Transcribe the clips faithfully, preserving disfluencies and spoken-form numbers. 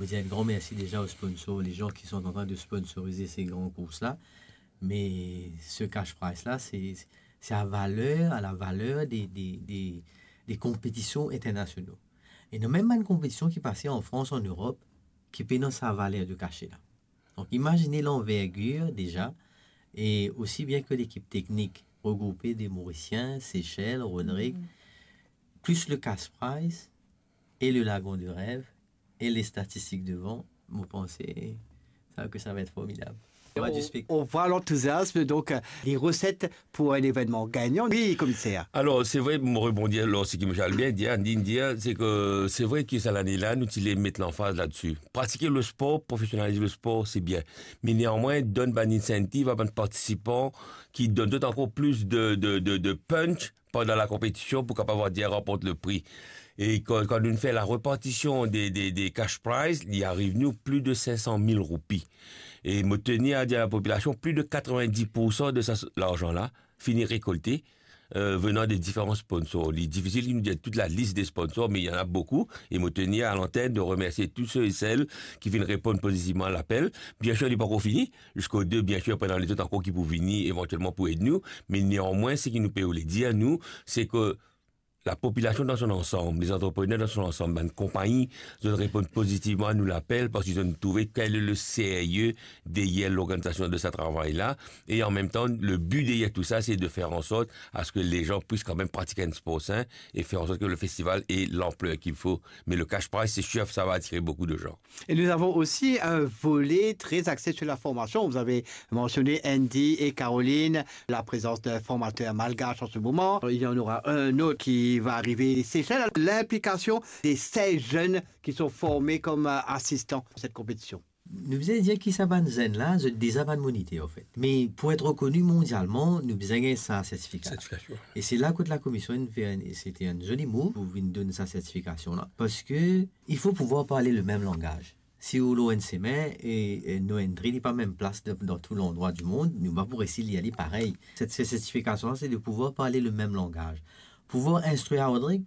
Mo dir enn gran mersi deza o sponsor, les gens qui sont en train de sponsoriser ces grands courses-là. Mais ce cash prize-là, c'est, c'est à valeur, à la valeur des, des, des, des compétitions internationaux. E ena mem bann konpetision ki pase an Frans, an Erop, ki pena sa valer de kache la. Donk, imazine lanvergir deza, e osi bien ke lekip teknik regroupe de Morisien, Seychelles, Rodrig, plis le cash prize e le lagon de rev e le statistik devan, mo panse sa ke sa va et formidab. Sa va di spek- On voit l'enthousiasme, donc, euh, les recettes pour un événement gagnant. Oui, commissaire. Alors, c'est vrai, mo rebondir lor seki Michel bien dir, Andy dir, c'est que c'est vrai que sa lane la, nou ti le met lanfaz la-dessus. Pratiquer le sport, professionnaliser le sport, c'est bien. Mais néanmoins, donn bann incentive à bann participan ki donn zot ankor plis de, de, de, de punch pandan la konpetision pou kapav dir ranport le pri. E kan, kan nou fer la repartision de, de, de cash prize, li ariv nou plis de sink san mil roupi. E mo tenir a dir a la popilasion, plis de katrevin-dis pour san de sa, larzan la fini rekolte, euh, venan de diferan sponsor. Li difisil nou dir tout la lis de sponsor, mais il y en a beaucoup. E mo tenir a l'antenne de remercier tous ceux et celles qui viennent répondre positivement à l'appel. Bien sûr, li pankor fini, ziska de, bien sûr, pena lezot ankor ki pou vini evantielman pou ed nou, me neanmwin, seki nou pe oule dir, nou, se ke lapopilasion dan son ansam, lezantreprener dan son ansam, bann konpagni, zot reponn pozitivman a nou lapel, parski zot trouve quel est le sérieux derrière l'organisation de ce travail-là, et en même temps, le but derrière tout ça, c'est de faire en sorte à ce que les gens puissent quand même pratiquer un sport sain et faire en sorte que le festival ait l'ampleur qu'il faut. Mais le cash prize, c'est sûr, ça va attirer beaucoup de gens. Et nous avons aussi un volet très axé sur la formation. Vous avez mentionné Andy et Caroline, la présence d'un formateur malgache en ce moment. Il y en aura un autre qui va arriver des Seychelles. L'implication des seize jeunes qui sont formés comme, euh, assistants à cette compétition. Nou bizin dir ki sa bann zenn la, zot deza bann moniter, anfet. Me pou et rekoni mondialman, nou bizin gagn sa sertifika. Sertifikasion. E se la kot lakomision inn fer, se ti enn zoli mouv pou vinn donn sa sertifikasion la. Parski il faut pouvoir parler le même langage. Si ou lor enn semin e, e no entri li pa mem plas dan, dan tou landrwa di mond, nou pa pou resi lir li parey. Set, set sertifikasion la, se de pouvoir parler le même langage. Pouvoir instrir a Rodrig,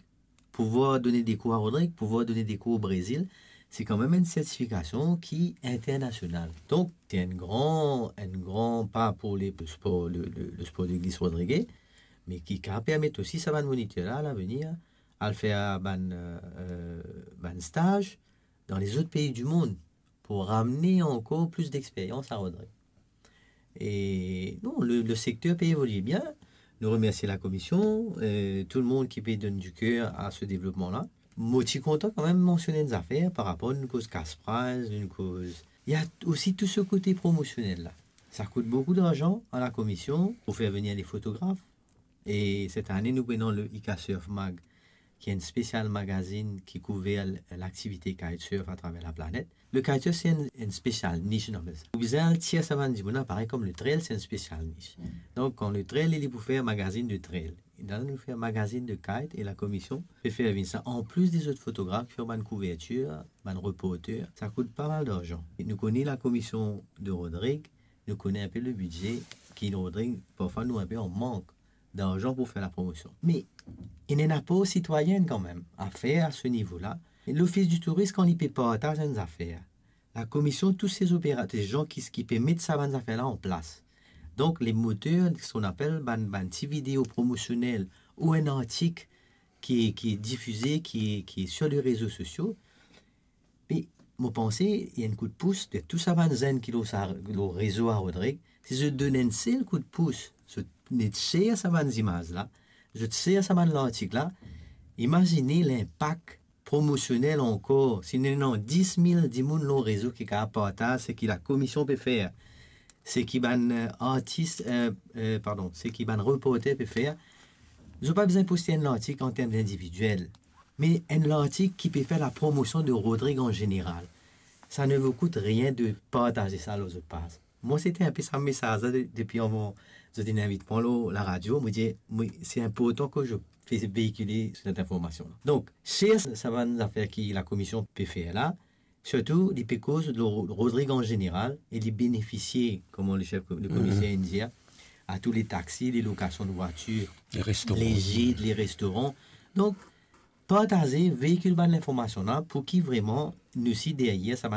pouvoir donner des cours à Rodrig, pouvoir donner des cours au Brésil, c'est quand même une certification qui est internationale. Donc, c'est un grand, un grand pas pour les, le sport, le, le, le sport de glisse rodrigué, mais qui, qui va permettre aussi sa bann moniter la, à l'avenir, al fer bann, euh, euh, bann staz dan lezot pei di mond pou ramenn ankor plis dexperyans a Rodrig. E non, le, le sekter pe evolie bien. Nou remersie lakomision, e tou le mond ki pe donn di ker a se devlopman la. Mo ti kontan kanmem mansionn enn zafer par rapor nou koz cash prize, nou koz... Il y a aussi tout ce côté promotionnel la. Sa kout boukou larzan a lakomision pou fer vini le fotograf. E set ane, nou pena le ICA Surf Mag, ki enn spesial magazin ki kouver l-, laktivite kitesurf atraver laplanet. Le kitesurf, se enn, enn spesial nish, nou apel sa. Ou bizin al tir sa bann dimoun la, parey kom le trail, se enn spesial nish. Donk, kan le trail, li pou fer magazin de trail. E la, nou fer magazin de kite e lakomision pe fer vinn sa. Anplis de zot fotograf, fer bann kouvertir, bann reporter, sa kout pa mal larzan. E nou kone lakomision de Rodrig, nou kone inpe le bidze ki Rodrig, parfwa nou inpe an mank larzan pou fer lapromosion. Me ena enn apor sitwayin kanmem a fer a se nivo la. Lofis di Touris, kan li pe partaz enn zafer, lakomision, tou se zoperater, zan ki, ki pe met sa bann zafer la an plas. Donk, le moter, seki nou apel bann, bann ti video promosionel ou enn artik ki, ki difize, ki, ki sir le rezo sosio, me mo panse, ena enn kout pous de tou sa bann zenn ki lor sa, lor rezo a Rodrig, si zot donn enn sel kout pous, zot net share sa bann zimaz la, zot share sa bann lartik la, imazine linpak promosionel ankor, si nou ena dis mil dimoun lor rezo ki kapav partaz seki lakomision pe fer, seki bann, euh, artis, euh, euh, pardon, seki bann reporter pe fer, zot pa bizin poste enn lartik an term individiel, me enn lartik ki pe fer lapromosion de Rodrig an zeneral. Ça ne vous coûte rien de partager ça lor zot paz. Mwa, se ti inpe sa mesaz la de-, depi avan zot inn invit mwa lor laradio, mo dir, mwa, se inportan ke zot fer veikile set informasion la. Donk, share sa bann zafer ki lakomision pe fer la, sirtou, li pe koz lor Rodrig an zeneral, e li benefisie, kouma le sef, le komiser inn dir, a tou le taxi, le lokasion de vwatir, le gid, le restoran. Donk, partaze, veikil bann linformasion la pou ki vreman nou si deryer sa bann